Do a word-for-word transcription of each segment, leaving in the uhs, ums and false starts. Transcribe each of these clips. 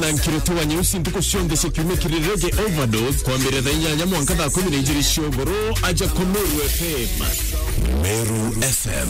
Na nkiriti wa nyeusi ntuku cionthe cia kiumia kiri Reggae Overdose, kwambiria thaa inyanya mwanka thaa kumi na ijiri cia ugoro, aja ku Meru F M. Meru F M,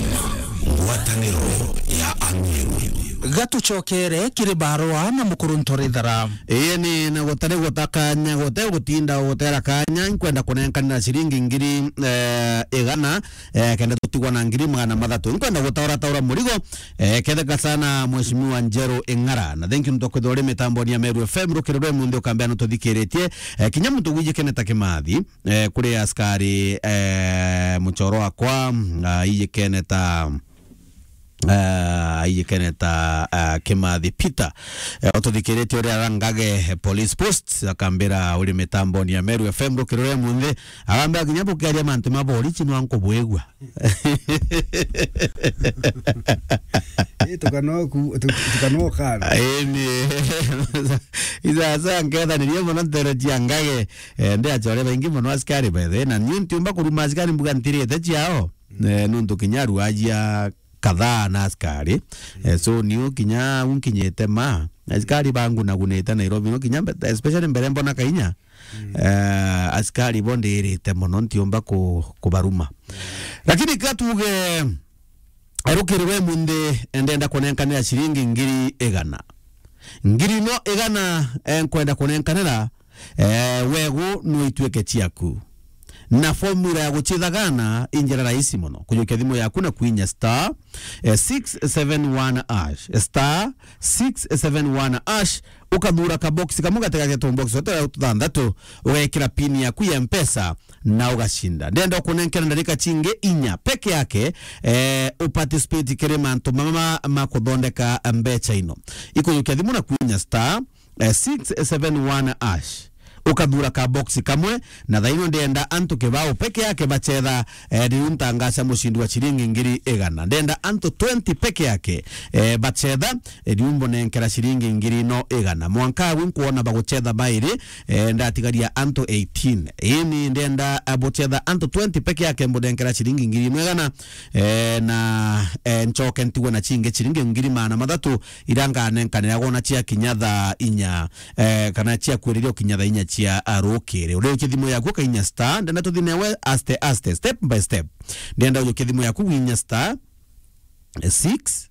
ngwataniro ya Ameru. Gatucokere kiri barua na mukuru Ntorithara. Ii ni na gutari guta kanya, gute gutinda gutera kanya, nkwenda kunenkanira ciringi ngiri, eh, igana, eh, kenda tutigwa na ngiri magana mathatu. Nkwenda gutaura taura murigo, eh, ketheka sana Mheshimiwa Njeru Ing'ara. Na thank you nontu kwithirwa uri mitamboni ya Meru F M, rukiri rwa munthi ukambia nututhikiritie. Eh, kinya muntu gwijikene ta Kimathi, eh, kuri askari, eh, muchoro wakwa, ah, ijikene ta, ah, ijikene ta, ah, Kimathi Peter. Eh, ututhikiritie uri ara Ngage, eh, police post, akambira uri mitamboni ya Meru F M, rukiri rwa munthi, akambira kinya bukiaria mantu ma borichi nwa nkubwigua. Ii, tukanoku-, tu-, tukanokana. Ii, ni. Isasa nkethanirie mono ntere cia Ngage. Eh, ndi achore baingi mono askari, by the way. Na niu ntiumba kuruma askari mbuga ntirite ciao. Mm. Eh, nuntu kinya ruajia kadhaa na askari. Mm. Eh, so niu kinya unkinyite ma. Askari bangunagunite Nairobi, no kinya mbe-, especially mbere mbona kainya. Mm. Eh, askari bo ndirite mono, ntiumba ku-, kubaruma. Lakini ka tuge, eh, rukiri rwa munthi, ndenda kunenkanira ciringi ngiri igana. Ngiri no igana, eh, nkwenda kunenkanira, eh, wegu no ituike ciaku. Na formula ya gucithagana injira rahisi mono. Kujukia thimu yaku na kuinya star, eh, six seven one hash. Star six seven one hash, ukathura ka box kamwe gatega getu box twa tuthanthatu, ugekira pin yaku ya Mpesa na ugacinda. Ndenda ukunenkera ndarika cingi inya peke yake, eh, uparticipate kiri mantu mama ma, ma kuthondeka mbecha ino. Ikujukia thimu na kuinya star, eh, six seven one hash. Ukathura ka box kamwe, na thaino ndenda antu kibao peke yake bachetha, eh, riu ntangaca mucindi wa ciringi ngiri igana. Ndenda antu twenty peke yake, eh, bachetha, eh, riu mbonenkera ciringi ngiri no igana. Mwanka agu nkwona baguchetha bairi, eh, ndatigaria antu eighteen. Ini ndenda, eh, buchetha antu twenty peke yake mbonenkera ciringi ngiri no igana, eh, na, eh, nchoke ntigwe na cingi ciringi ngiri magana mathatu, ira nganenkanira gwona cia kinya thaa inya, eh, kana cia kwiriria ukinya thaa inya cia, ah, rukiri. Uriukia thimu yaku ukainya star, ndenda tuthi newe aste aste, step by step. Ndenda ujukia thimu yaku winya star, eh, six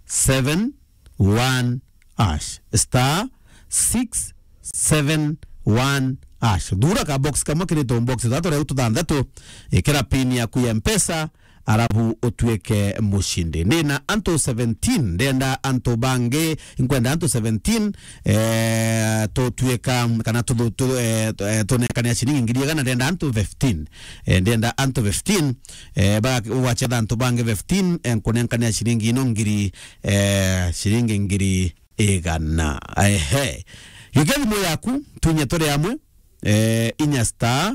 seven one hash. Star six seven one hash. Thura ka box kamwe kiri tu box tatu riu tuthanthatu, ikira pin yaku ya Mpesa, arabu utuike mucindi. Ndina antu seventeen, ndenda antu bangi, nkwenda antu seventeen, eh, tutuika, kana tu, tu, eh, tu, eh, tunenkanira ciringi ngiri igana, ndenda antu fifteen. Eh, ndenda antu fifteen, eh, ba, ugachetha antu bangi fifteen, eh, nkunenkanira ciringi ino ngiri, eh, ciringi ngiri igana. Ehe. Jukia thimu yaku, tunye turi amwe, eh, inya star,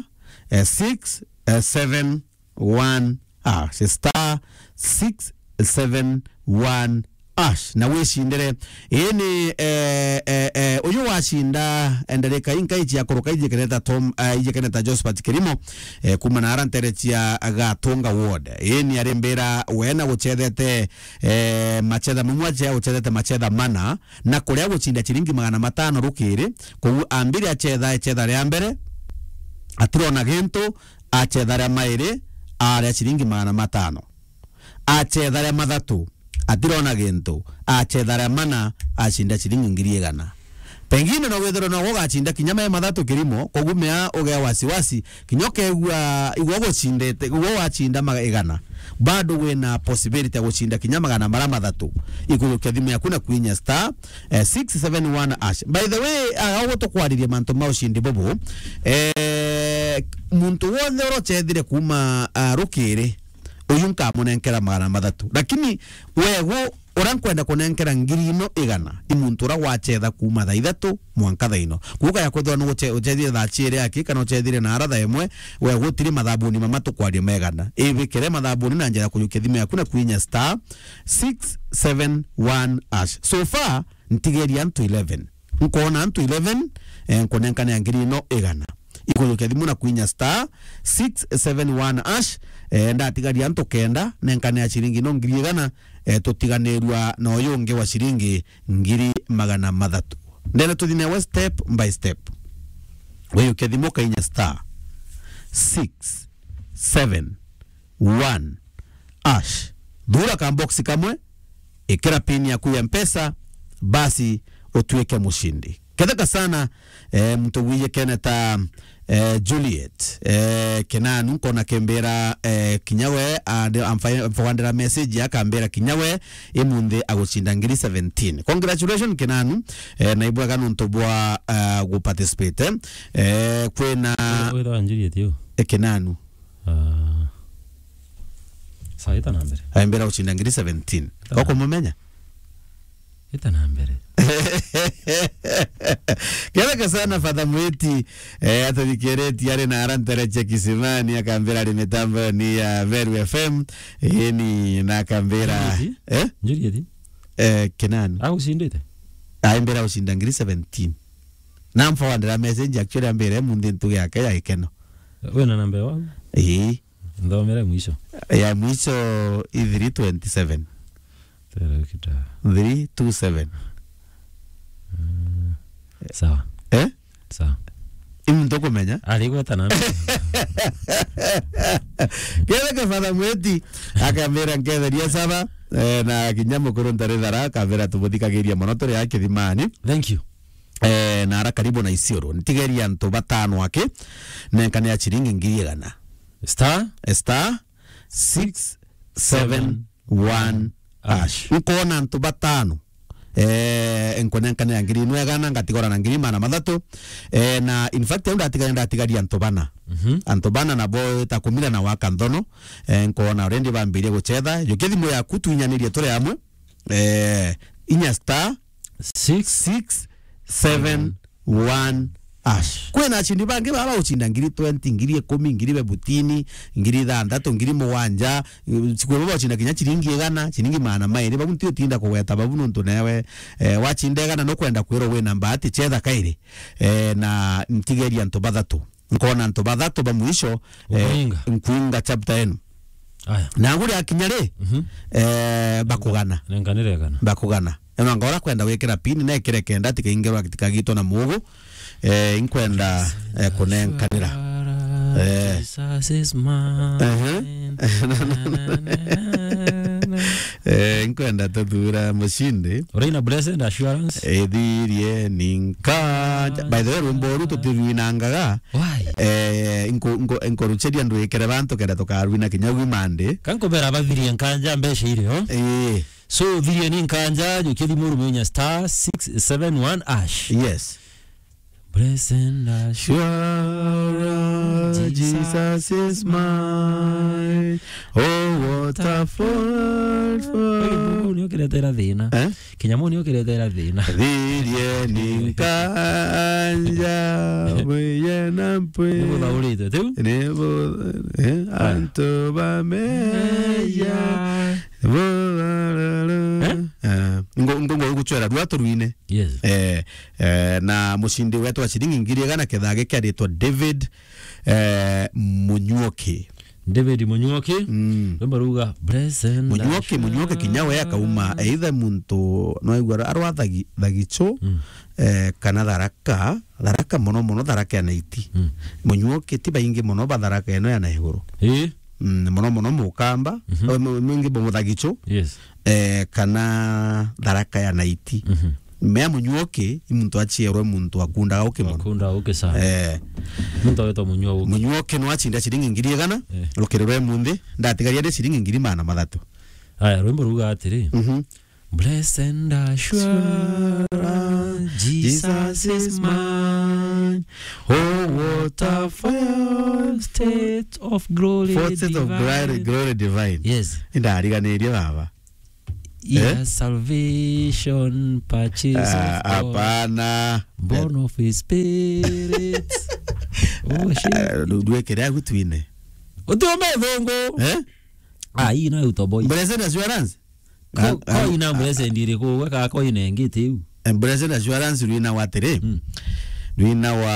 eh, six, eh, seven, one hash, star six seven one hash, na wicindire. Ii ni, eh, eh, eh, uyu wacinda, eh, ndarika inka ici akuruka ijikeneta Tom, eh, ijikeneta Josephat Kirimo, eh, kuma na ara ntere cia Gatunga Ward. Ii ni arimbira we na guchethete, eh, machetha mamwe acia guchethete machetha mana, na kuria gucinda ciringi magana matano rukiri. Koguo ambire achetha, echetha ria mbere, atirona gintu, achetha ria mairi, aria ciringi magana matano. Achetha ria mathatu, atirona gintu, achetha ria mana, acinda ciringi ngiri igana. Pengine no withirwe no ugacinda kinya mai mathatu Kirimo, koguo mea ugea wasiwasi, kinya ukegua igwe ugucindite, igwe wacinda maga igana, bado wina possibility ya gucinda kinya magana mara mathatu. Ikujukia thimu yaku na kwinya star, eh, six seven one hash. By the way, ah, uguo tukwaririe mantu ma ucindi bubu, eh, muntu wonthe urocethire kuma, ah, rukiri, uyu nkamunenkera magana mathatu. Lakini wegu uria nkwenda kunenkera ngiri ino igana, i muntu uria wachetha kuma thaa ithatu mwanka thaa ino. Kuuga ya kwithirwa ni uche-, uchethire thaa ciiri aki, kana uchethire na ara thaa imwe, we gutiri mathabuni mama tukwaria megana. Ibikire mathabuni na njira ya kujukia thimu yaku na kwinya star six seven one hash. So far, ntigeria antu eleven. Nkwona antu eleven, eh, nkunenkane ya ngiri ino igana. Ikujukia thimu na kwinya star six seven one hash, eh, ndatigaria antu kenda, nenkane ya ciringi ino ngiri igana, eh, tutiganirua na uyu ungi wa ciringi ngiri magana mathatu. Ndenda tuthi nawe step by step. Wiyukia thimu ukainya star six seven one hash. Thura ka box kamwe, ikira pin yaku ya Mpesa, basi utuike mushindi. Ketheka sana, eh, muntu wiye keneta, eh, Juliet, eh, Kinanu, nkona kembira, eh, kinya we, ande-, amfa-, amfawandira message akambira kinya we, imunthi agucinda ngiri seventeen. Congratulations, Kinanu, eh, na ibwega nuntu bwa, eh, guparticipate, eh, kwina Witwa Juliet yu? Eh, Kinanu. Ah. Sawa, ita na mbere. Aimbira gucinda ngiri seventeen. Ita na Ukumumenya? Ita na mbere. Ketheka sana Father Mwiti, eh, atuthikiritie ari na ara ntere cia Kisimani, akambira ari mitambo ni ya Meru F M, ini na akambira, Juliet? Eh? Juliet? Eh, Kinanu. Agucindite? Aimbira gucinda ngiri seventeen. Na mfawandira message actually ambire munthi ntuge yake ya ikeno. Wina namba ya waku? Ii. Nthomere mwisho. Ya mwisho i three twenty seven. Tera kita. Three two seven. Mm. Sawa. Eh? Sawa. Imu ntukumenya? Arigweta na. Ketheka Father Mwiti, akambira nketheria saba, eh, na kinya mukuru ntari thara, akambira tumuthikagiria mono turi a Kithimani. Thank you. Eh, na ara karibu na Isiolo. Ntigeria antu batano aki, nenkane ya chiringi ngiri igana. Star? Eh, star six seven one hash. Nkona antu batano. Eh, nkunenkanira ngiri imwe igana, ngatigora na ngiri magana mathatu. Eh, na in fact, au ndatigaria, ndatigaria antu bana. Mhm. Antu bana nabo ta kumira na waka nthono. Eh, nkona already bambirie guchetha. Jukia thimu yaku, twinyanirie turi amwe. Eh, inya star six six seven one hash. Kwina acindi bangi baba bagucinda ngiri twenty, ngiri ikumi, ngiri bebutini, ngiri ithanthatu, ngiri mugwanja, siku imwe bagucinda kinya ciringi igana, ciringi magana mairi. Babu nti utinda kugweta babu nuntu newe, eh, wacinda igana nukwenda kwirwa wina mbati, chetha kairi. Eh, na ntigeria antu bathatu. Nkona antu bathatu ba mwisho, eh, Ukuinga. Nkuinga chapter enu. Aya. Na nguri akinya ri, mhm, eh, bakugana. Nenkanire kana. Bakugana. Eno anga ora kwenda gwikira pin, nekire kenda tikaingirwa, tikagitwa na mugu. Eh, inkwenda, eh, kunenkanira. Eh. Jesus is mine. Ehe. Eh, inkwenda tuthura mucindi. Uraina Blessed Assurance? Ithirie ni nkanja. By the way, rwimbo uru tutirwinangaga. Why? Eh, nko-, nko-, nkorucheria ndwikire bantu kenda tukarwina kinya gwi Monday. Kankubera bathirie nkanja mbeca irio. Eh. So, thirie ni nkanja, jukia thimu ruminya star six seven one hash. Yes. Blessed assurance, Jesus is mine. Oh, what a fourth for Mungu ni ukiretera thina. Eh? Kinyamu ni ukiretera thina. Thirie ni nkanja, mwiye na mpwi. Ni buthaurite, tiu? Ni bu-, eh, antu bameya. Eh? Eh, ngo, ngo, ngo guchwera rwa turwine. Yes. Eh, eh, na mucindi wetu wa ciringi ngiri igana kethage kiaritwa David, eh, Munyuoki. David Munyuoki. Mm. Rwimbo ruga, "Blessed Munyuoki, Munyuoki kinya we akauma, either muntu, no aigua arwa Thagi-, Thagichu, mm, eh, kana Tharaka, Tharaka mono mono, Tharaka ya Naiti. Mm. Munyuoki ti baingi mono ba Tharaka eno ya na iguru. Ii. Mm, mono mono Mukamba, mhm, o, mu-, mwingi bo Muthagichu. Yes. Eh, kana Tharaka ya Naiti. Mhm. Mea Munyuoki, i muntu aciarwe muntu akundaga uki mono. Akunda uki sana. Eh. Muntu awetwa Munyuoki. Munyuoki no acinda ciringi ngiri igana, eh, rukiri rwa munthi, ndatigaria ndi ciringi ngiri magana mathatu. Aya, rwimbo ruga atiri, mhm. Blessed assurance, Jesus is mine. Oh, what a foretaste of glory divine. Foretaste of glory, glory divine. Yes. Indariganirie baba. Yes, eh? Salvation, purchase of God. Hapana. Born of his spirit. Oh, shit. Ah, du-, duekere agu twine. Utume thungu. Eh? Ah, hii nayo utoboy. Blessed assurance. Ko-, ah, ah, koina blessed iriku, we ka koina ingi tiu? Eh, blessed assurance rwina wa atiri. Mm. Rwina wa,